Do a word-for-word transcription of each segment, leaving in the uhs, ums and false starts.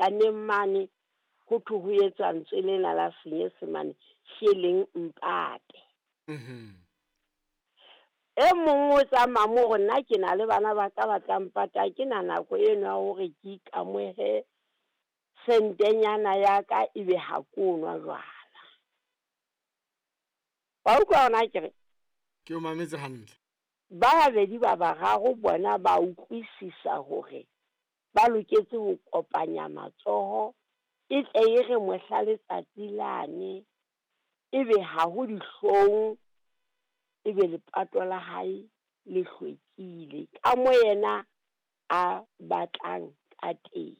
Kaneng mane ho thwe ho etswa ntswe lena la Senyesemane sheleng mpate. Mhm. E mong o tsamaya mo hore nna ke na le bana ba ka ba tla mpata, ha ke na nako eno ya hore ke ikamohe sentenyana ya ka ebe ha ko nwa jwala. Wa utlwa hona akere? Ke o mametse hantle. Ba babedi ba bararo bona ba utlwisisa hore ba loketse ho kopanya matsoho, e tle e re mohla letsatsi lane ebe ha ho dihlong, ebe lepato la hae le hlwekile ka mo yena a batlang ka teng.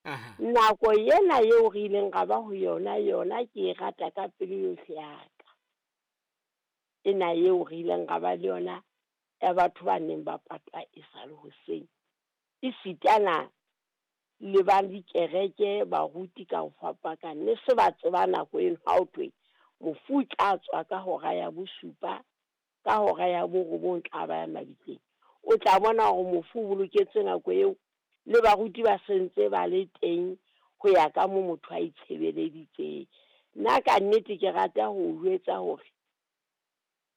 Aha. Nako ena eo re ileng ra ba ho yona, yona ke e rata ka pelo yohle ya ka. Ena eo re ileng ra ba le yona ya batho ba neng ba patwa e sa le hoseng. E sitana le ba dikereke, baruti ka ho fapakana, ne se ba tseba nako eno ha ho thwe mofu o tla tswa ka hora ya bosupa, ka hora ya borobong tla ba ya mabitleng. O tla bona hore mofu o boloketswe nako eo, le baruti ba sentse ba le teng ho ya ka mo motho a itshebeleditseng. Nna ka nnete ke rata ho o jwetsa hore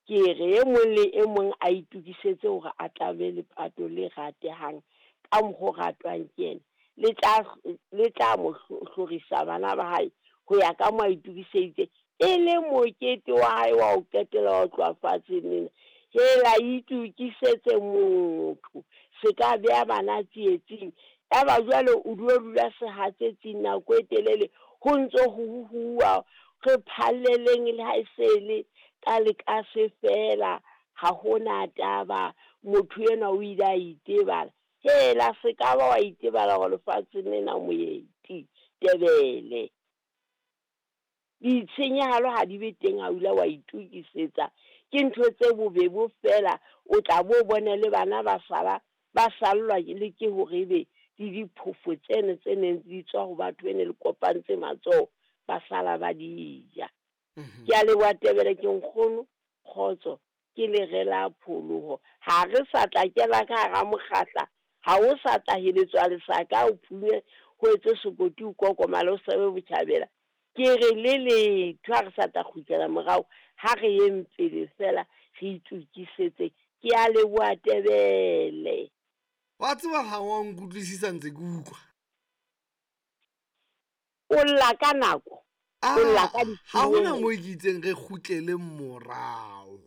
ke re e mong le e mong a itokisetse hore a tla be lepato le ratehang ka mokgo ratwang ke yena. Le tla, le tla mo hlorisa bana ba hae ho ya ka mo a itokiseditse, e le mokete wa hae wa ho qetela wa ho tloha fatshe lena. Hela itokisetse motho, se ka beha bana tsietsing. Ya ba jwale o dula dula sehatsetsing nako e telele, ho ntso ho huwa, re phalleleng le ha e se le ka lekase fela, ha hona taba, motho enwa o ile a itebala. Hela se ka ba wa itebala hore lefatsheng lena moeti Tebele. Ditshenyehelo ha di be teng ha o ile wa itokisetsa. Ke ntho tse bobebo fela, o tla bo bone le bana ba sala, ba sallwa le ke hore ebe le diphofo tseno tse neng di tswa ho batho bene le kopantse matsoho, ba sala ba di ja. Mhm. Ke a leboha Tebele, ke nkgono, kgotso, ke lere la pholoho. Ha re sa tla kena ka hara mokgahla, ha o sa tla heletswa lesaka, o phunye, ho etse sekoti, o kokomale, o sebe botjhabela. Ke re le letho ha re sa tla kgutlela morao, ha re yeng pele fela re itokisetse. Ke a leboha Tebele. Wa tseba ha wa nkutlwisisa ntse ke utlwa. O lla ka nako. Ah, O lla ka ha hona ditshenyehelo. moo ke itseng re kgutlele morao.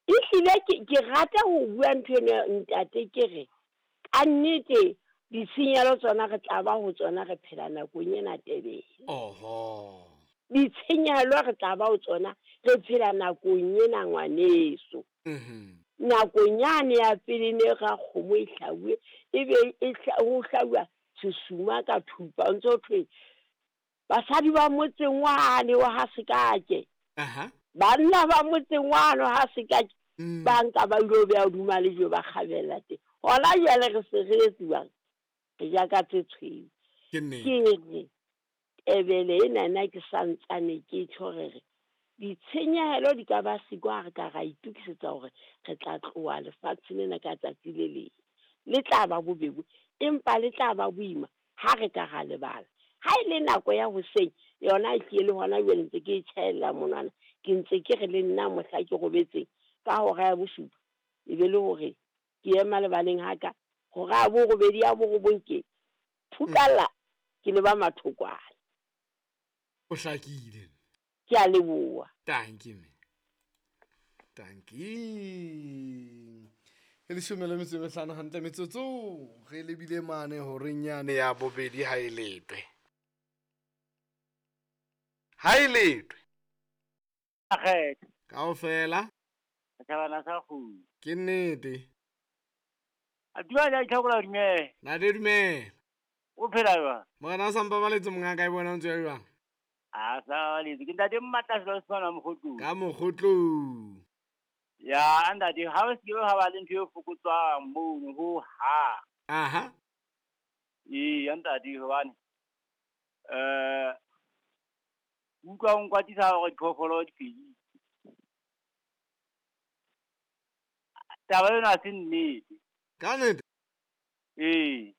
Ehlile ke, ke rata ho bua ntho eno ntate, ke re ka nnete ditshenyehelo tsona re tla ba ho tsona re phela nakong ena Tebele. Oho. Ditshenyehelo re tla ba ho tsona re phela nakong ena ngwaneso. Mhm. Nakong yane ya pele ne ra kgomo e hlabuwe, ebe e hla-, ho hlabuwa sesuma ka thupa, o ntso thwe basadi ba motseng wane wa ha Sekake. Aha. Banna ba motseng wane wa ha Sekake, Mm. ba nka ba ilo beha hodima lejwe ba kgabella teng. Hona jwale re se re etsuwang, re ja ka tse tshweu. Ke nnete. Ke re Tebele enana ke santsane ke tjho re re ditshenyehelo di ka ba siko ha re ka ra itokisetsa hore re tla tloha lefatsheng lena ka tsatsi le leng. Le tla ba bobebe, empa le tla ba boima ha re ka ra lebala. Ha e le nako ya hoseng, yona e hlile le hona jwale ntse ke e tjhaella monwana, ke ntse ke re le nna mohla ke robetseng ka hora ya bosupa, e be le hore ke ema lebaleng ha ka, hora ya borobedi ya borobong ke phukalla, ke leba mathokwana. O hlakile. Ke a leboha. Thank you, mme. Thank you. E leshome le metso e mehlano hantle metsotso, re lebile mane horeng yane ya bobedi ha e letwe. Ha e letwe. Akgetho. Kaofela. Setjhabana sa kgudu. Ke nnete. A dula ja itlhokola dumela. Ntate dumela. O phela jwang? Morena o sa mpabaletse mongaka e bona o ntse o jwang? A sa baletse. Ke ntate Mmatla Selo Sefana Mokgotlong. Ka Mokgotlong. Ya, ntate, ha o se ke ha ba le ntho e fokotswang mono ho ha. Aha. Ee, ntate, hobane, eh, utlwa o nkwatisa hore diphoofolo di fedile. Taba ena ha se nnete. Ka nnete? Ee.